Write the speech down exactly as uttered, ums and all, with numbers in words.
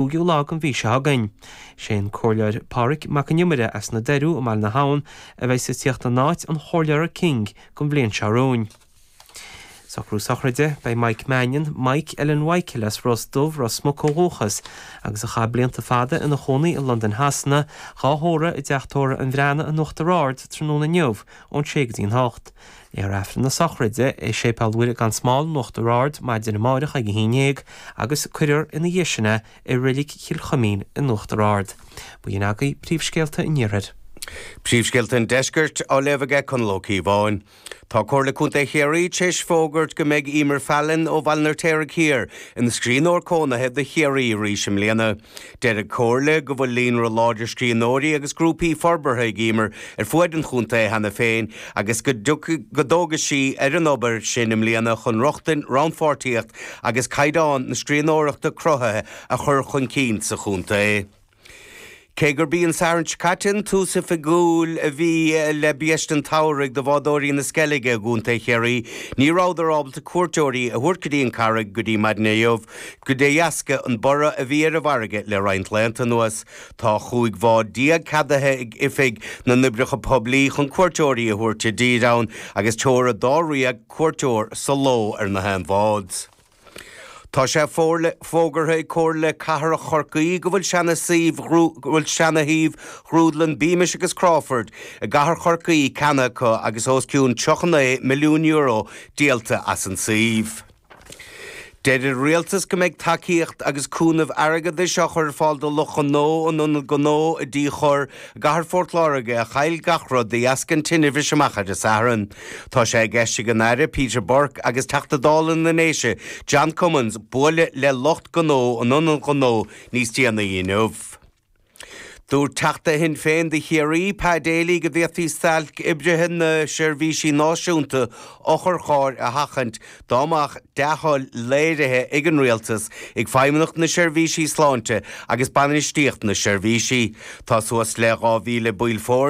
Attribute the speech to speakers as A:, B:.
A: cúigiú lá den mhí seo chugainn. Sé an Comhairleoir Pádraig Mac an Iomaire as na Doiriú i mBaile na hAbhann a bheidh ag tíocht in áit an Chomhairleora King don bhliain seo romhainn. Socrú sochraide beidh Mike Mannion, Mike Ellen Mhichael as Ros Dubh Ros Muc ó dhúchas, agus a chaith blianta fada ina chónaí i Londain Shasana, dhá thórramh i dteach tórraimh an Bhreathnaigh in Uachtar Ard tráthnóna inniu ón sé go dtí an hocht. Léifear Aifreann na sochraide i Séipéal Mhuire gan Smál in Uachtar Ard maidin amárach ag a haon déag agus cuirfear ina dhiaidh sin é i Reilig Chill Chuimín in Uachtar Ard. B'in agaibh príomhscéalta an iarthair.
B: Príomhscéalta an deiscirt á léamh aige Conall Ó Cíobháin. Tá Comhairle Contae Chiarraí tar éis fógairt go mbeidh Emer Fallon ó Bhaile an Fheirtéaraigh Thiar ina scríbhneoir cónaithe do Chiarraí arís i mbliana. Deir an Chomhairle go bhfuil líonra láidir scríbhneoirí agus grúpaí forbartha ag Emer ar fuaid an chontae cheana féin agus go dtógfaidh sí ar an obair sin i mbliana chun rochtain, rannpháirtíocht agus caighdeán na scríbhneoireachta cruthaithe a chur chun cinn sa chontae. Cé gurb í an Satharn seo caite an tús oifigiúil a bhí le biaiste an tsamhraidh do bhádóirí na Sceilge i gContae Chiarraí, ní rabhadar ábalta cuairteoirí a thabhairt go dtí an Carraig go dtí maidin inniu, go de dheasca an borradh a bhí ar an bhfarraige le roinnt laethanta anuas. Tá chúig bhád déag ceadaithe ag Oifig na nOibreacha Poiblí chun cuairteoirí a thabhairt i dtír ann agus teora dáréag cuairteoir sa ló ar na haon bhád. Tá sé fógartha ag Comhairle Cathrach Chorcaí go bhfuil seana suíomh go bhfuil seana-shuíomh ghrúdlann Beamish agus Crawford i gcathair Chorcaí ceannaithe acu agus os cionn tríocha naoi milliún euro díolta as an suíomh. Deir an rialtas go mbeidh tacaíocht agus cúnamh airgeadais á chur ar fáil do lucht gnó an ionad gnó i dTí Chorr i gcathair Phort Láirge a chaill gach rud de dheasca an tine bhris amach ar an Satharn. Tá sé i gceist ag an Aire Peter Burke agus Teachta Dála na nDéise John Cummins bualadh le lucht gnó an ionad gnó níos déanaí inniu. Dúirt Teachta Shinn Féin do Chiarraí Pa Daly go bhféadfaí stailc oibrithe na seirbhísí náisiúnta otharchairr a sheachaint dá mbeadh dea-thoil léirithe ag an rialtas ag Feidhmeannacht na Seirbhísí Sláinte agus bainistíocht na seirbhísí. Tá suas le dhá mhíle baill foirne